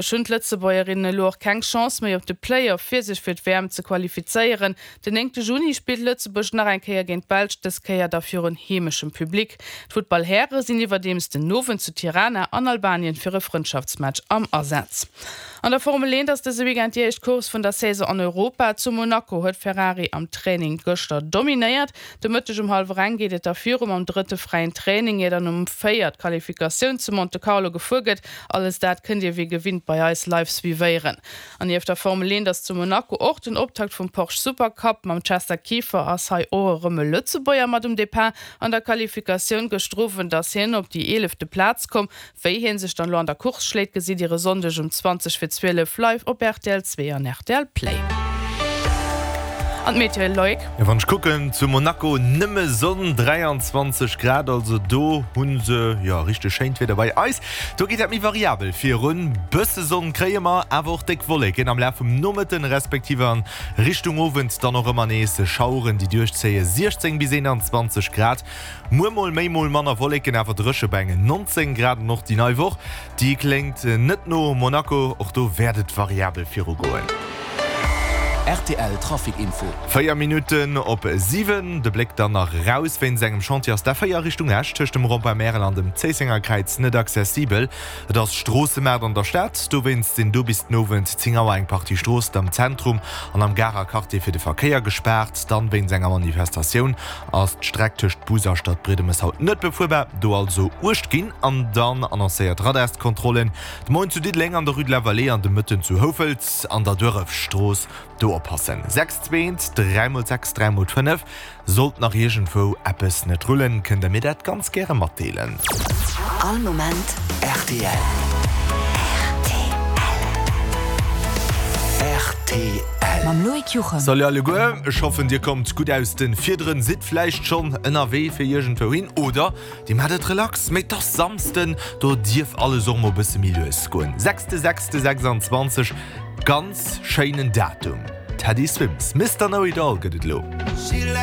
Hunn d'Lëtzebuergerinnen elo och keng Chance méi op de Play-Off fir sech fir d'WM ze qualifizéieren. Den 9 Juni spillt Lëtzebuerg nach eng Kéier géint d'Belsch, dës Kéier da virun heemeschem Public. D'Futtballhäre sinn iwwerdeems den Owend zu Tirana an Albanien fir e Frëndschaftsmatch am Asaz. An der Formel 1 ass dëse Weekend déi éischt Course vun der Saison an Europa. Zu Monaco huet Ferrari am Training gëschter dominéiert. De Mëtteg um hallwer eng geet et da viru mam drëtte fräien Training, ier dann um 4 d'Qualifikatioun zu Monte Carlo gefuer gëtt. Alles dat kënnt Dir wéi gewinnt bei eis live suivéieren. An nieft der Formel 1 ass zu Monaco och den Optakt vum Porsche Supercup. Mam Chester Kieffer ass hei och erëm e Lëtzebuerger mat um Depart. An der Qualifikatioun gëschter Owend ass hien op déi eelefte Plaz komm. Wéi hien sech dann elo an der Course schléit, gesitt dir e Sonndeg um 20 fir 12 live op rtl 2 an rtl Play. An d'Meteo, Loïc? Jo, wann ech kucken, zu Monaco nëmme Sonn, 23 Grad, also do hu se jo richteg schéint Wieder. Bei eis, do geet dat méi variabel virun, bësse Sonn kréie mer, awer och déck Wolleken am Laf vum Nomëtten, respektiv a Richtung Owend dann och ëmmer nees Schaueren, déi duerchzéie, 16 bis 21 Grad. Muer mol méi, mol manner Wolleken, awer dréche bei engen 19 Grad. An och déi nei Woch, déi kléngt net no Monaco, och do wäert et variabel virugoen. Rtl Trafic Info. 4 Minutten op 7, de Bléck dann nach eraus. Wéinst engem Chantier ass d'A4 Richtung Esch tëscht dem Rond-point Märel an dem Zéissenger Kräiz net accessibel. Et ass Stroossemaart an der Stad, dowéinst sinn do bis den Owend 10 Auer eng Partie Stroossen am Zentrum an am Garer Quartier fir de Verkéier gespaart. Dann wéinst enger Manifestatioun ass d'Streck tëscht Bus a Stadbriedemes haut net befuerbar, do also Uecht ginn. An dann annoncéiert Radarskontrollen de Moien zu Diddeleng an der Rue de la Vallée an de Mëtten zu Houfelt an der Duerefstrooss. Do oppassen, 6 2 3 mol 6 3 mol 5. Sollt nach iergendwou eppes net rullen, kënnt der mir dat ganz gäre matdeelen. All Moment rtl. Rtl. Mam Loïc Juchem. Salut alleguer, ech hoffen dir kommt gutt aus den Fiederen, sidd vläicht schonn ënnerwee fir iergendwou hin oder dir maacht et relax, mee et ass Samsden, do dierf alles och mol bësse méi lues goen. Sechste sechste 26, ganz schéinen Datum. Teddy Swims, Mister Know It All gëtt et elo.